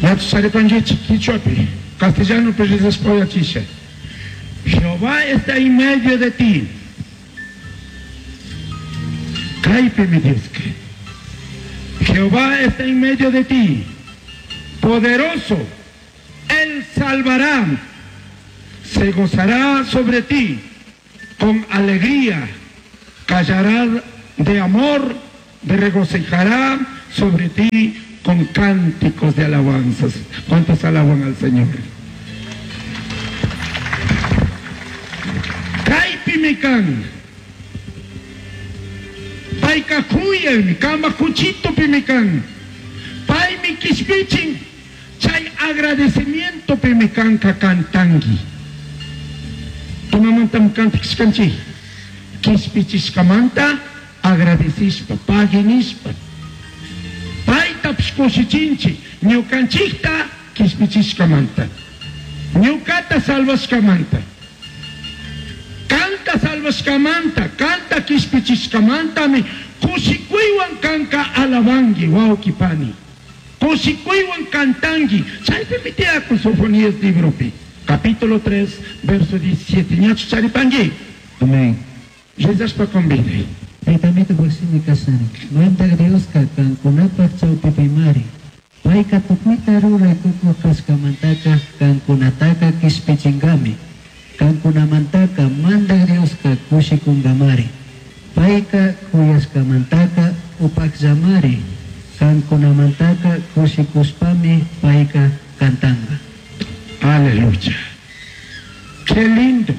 Ñachu charipanguichik quichuapi, castellanopi rizashpa uyachisha. Jehová está en medio de ti. Caipimi Diosca. Jehová está en medio de ti, poderoso, Él salvará, se gozará sobre ti con alegría, callará de amor, de regocijará sobre ti con cánticos de alabanzas. ¿Cuántos alaban al Señor? Caipimi can. Paica juyami, cambaj cuchitopimi can. Paimi quishpichin, chay agradecimientopimi canca cantangui. Imamantami cantashcanchik? Quishpichishcamanta agradecishpa, pagui nishpa. Paitapish cushichinchik, ñucanchikta quishpichishcamanta, ñucata salvashcamanta. Canta salvashcamanta, canta quishpichishcamantami cushicuihuan canca alabangui, huauqui pani. Cushicuihuan cantangui. Chaipimi tiyacun Sofonías libropi, capítulo 3, verso 17. Ñachu charipangui? Amén. Rezashpa convidai. Taitamito shimi cashna, Mandaj Diosca cancunapaj chaupipimari. Paica tucuita rurai tucuj cashcamantaca cancunataca quishpichingami. Cancunamantaca Mandaj Diosca cushicungamari. Paica c'uyashcamantaca upajllamari. Cancunamantaca cushicushpami paica cantanga. Aleluya. Qué lindo.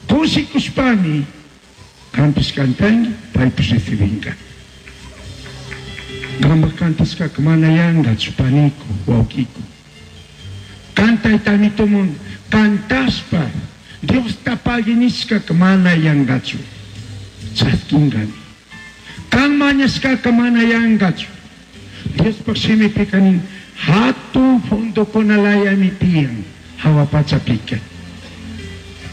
Cushicushpami canpish cantangui, paipish recibinga. Cambaj cantashcaca mana yangachu, panicu, huauquicu. Cantaitami tumun cantashpa Diosta pagui nishcaca mana yangachu, chasquingami. Can mañashcaca mana yangachu. Diospaj shimipica nin, jatun funducunalayami tiyan jahua pachapica.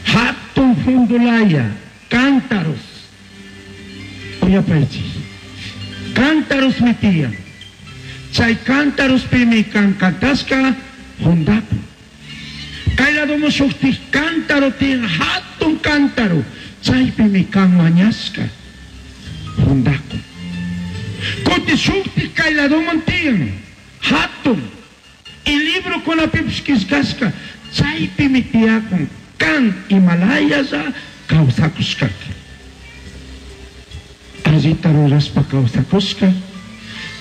Jatun fundulaya, cántaros. Uyapaichik. Cántarosmi tiyan. Chay cántarospimi can cantashca jundacun. Cay ladoman shujtik cántaro tiyan, jatun cántaro. Chaypimi can mañashca jundacun. Cutin shujtik cay ladoman tiyan, jatun. Y librocunapipish quillcashca, chaypimi tiyacun can imalayalla causacushcaca. Allita rurashpa causacushca,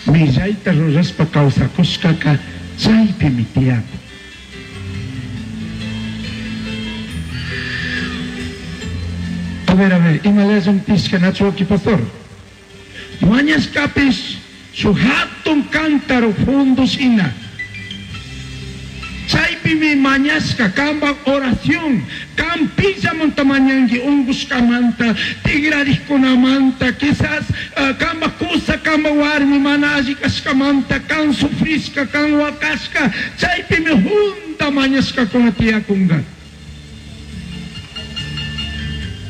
millaita rurashpa causacushcaca chaypimi tiyacun. A ver, a ver, imalayallami tiyashca nachu huauqui pastor? Mañashcapish shuj jatun cántaro fondo shina. Chaipimi mañashca cambaj oración, can pillamanta mañangui ungushcamanta, tigrarijcunamanta, quizás cambaj cusa, cambaj huarmi mana alli cashcamanta, can sufrishca, can huacashca, chaipimi junda mañashcacuna tiyacunga.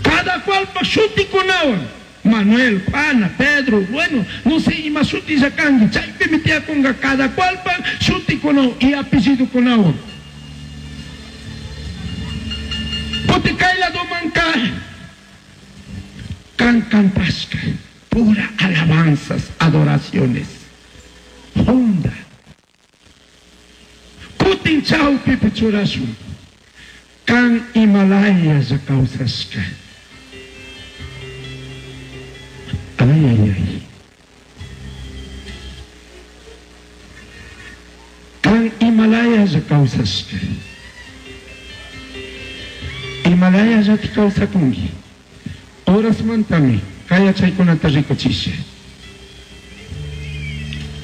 Cada cualpaj shuticunahuan, Manuel, Juana, Pedro, bueno, no sé ima shutilla cangui, chaipimi tiyacunga cada cualpaj shuticunahuan y apellidocunahuan. Cutin cay ladomanca can cantashca, pura alabanzas, adoraciones, junda. Cutin chaupipi churashun, can imalayalla causashca. Ay, ay, ay. Can imalayalla causashca. Imalayallati causacungui. Horasmantami cay yachaicunata ricuchisha.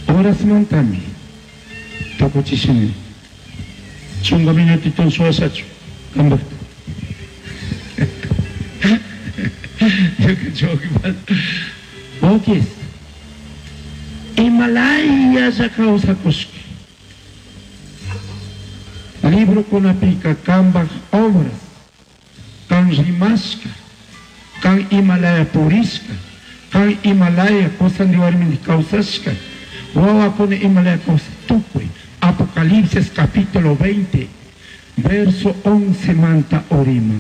Horasmantami tucuchishami. Chunga minutito shuashachu cambajta. Huauquis, imalayalla causacushca. Librocunapica cambaj obras, can rimashca, can imalaya purishca, can imalaya cosandi huarmindi causashca, huahuacuna imalaya causa, tucui. Apocalipsis capítulo 20, verso 11 manta uriman.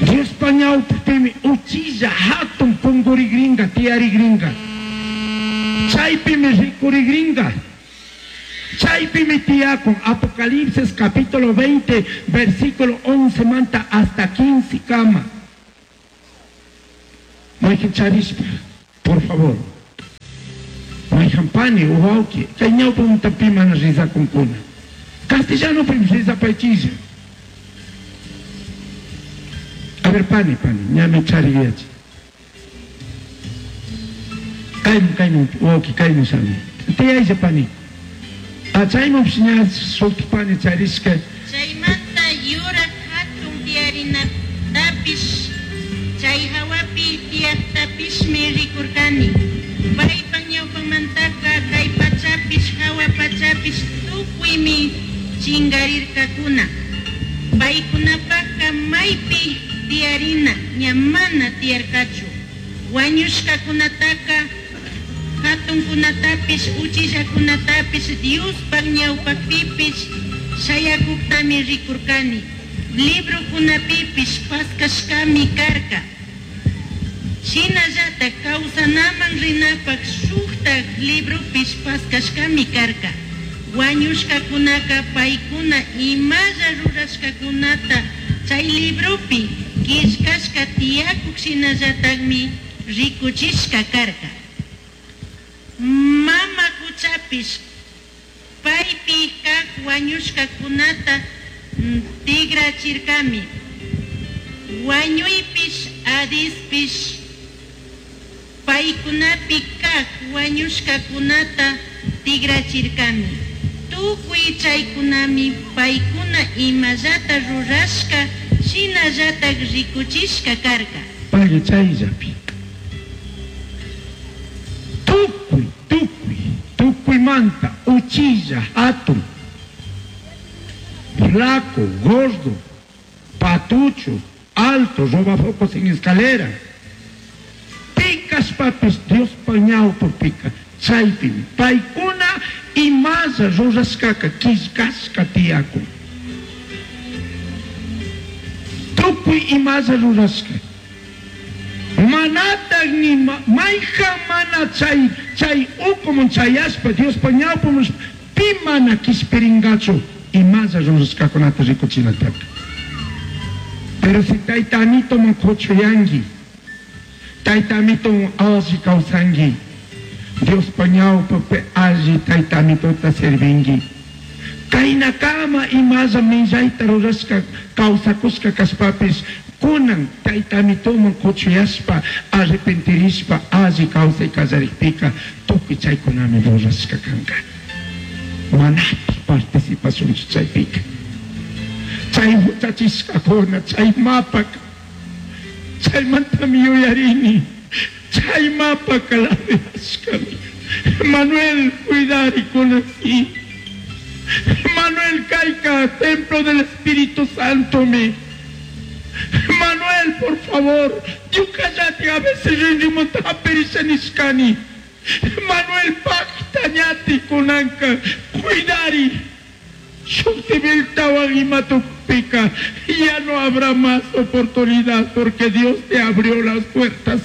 Diospa ñawpaqpimi uchilla hatun pungurigringa, tiyarigringa. Chaypimi rikurigringa. Chaypimi tiyakun Apocalipsis capítulo 20, versículo 11 manta hasta 15 kama. Mayqin charishpa, por favor. Mayqan pani wawqi, kay ñawpamanta pi mana rizakunkuna. Castellanopim rizapaychilla. A ver, pani, pani, ñami chariyachi. Kayman, kayman, wawqi, kayman shami. Tiyaylla pani. Ah, chaymanpish ña shuti pani charishka. Chaimanta yuraj jatun tiyarinatapish, chai jahuapi tiyajtapishmi ricurcani. Paipaj ñaupamantaca cai pachapish, jahua pachapish tucuimi chingarircacuna. Paicunapajca maipi tiyarina ña mana tiyarcachu. Huañushcacunataca jatuncunatapish, uchillacunatapish, Diospaj ñaupajpipish shayacujtami ricurcani. Librocunapipish pascashcami carca. Shinallataj causanaman rinapaj shujtaj libropish pascashcami carca. Huañushcacunaca paicuna imalla rurashcacunata chai libropi quillcashca tiyacuj shinallatajmi ricuchishca carca. Mama cuchapish paipi caj huañushcacunata tigrachircami. Huañuipish, Hadispish paicunapi caj huañushcacunata tigrachircami. Tucui chaicunami paicuna imallata rurashca shinallataj ricuchishca carca. Pagui chayllapi. Tucui, tucui, tucuimanta, uchilla, hatun, flaco, gordo, patucho, alto, robafocos en escalera. Picashpapis Diospa ñawpapika chaypimi paykuna imalla rurashkaka quillkashka tiyakun. Tukuy imalla rurashka. Manataj ni mayjan mana chay chay ukuman chayashpa Diospa ñawpaman pi mana quishpiringachu imalla rurashkakunata rikuchinataka. Pero si tayta amitoman kuchuyanki, tayta amitowan alli kawsanki, Diospa ñawpapi alli tayta amitota servinki. Kaynakama imalla millayta rurashka kawsakushka kashpapish kunan tayta amitoman kuchuyashpa arrepentirishpa alli kawsay kallarikpika tukuy chaykunami rurashka kanka. Manataj participashunchu chaypika. Chay huchachishkakuna, chay mapaka, chaymantami yuyarini, chay mapaka ladeashkami. Manuel, cuidari kunasi. Manuel kayka, templo del Espíritu Santo mi. Manuel, por favor, ñukallati a veces rinrimanta hapirisha nishkani. Manuel pakta ñati kunanka, cuidari. Shuktibiltawan imatukpika, ya no habrá más oportunidad porque Dios te abrió las puertas.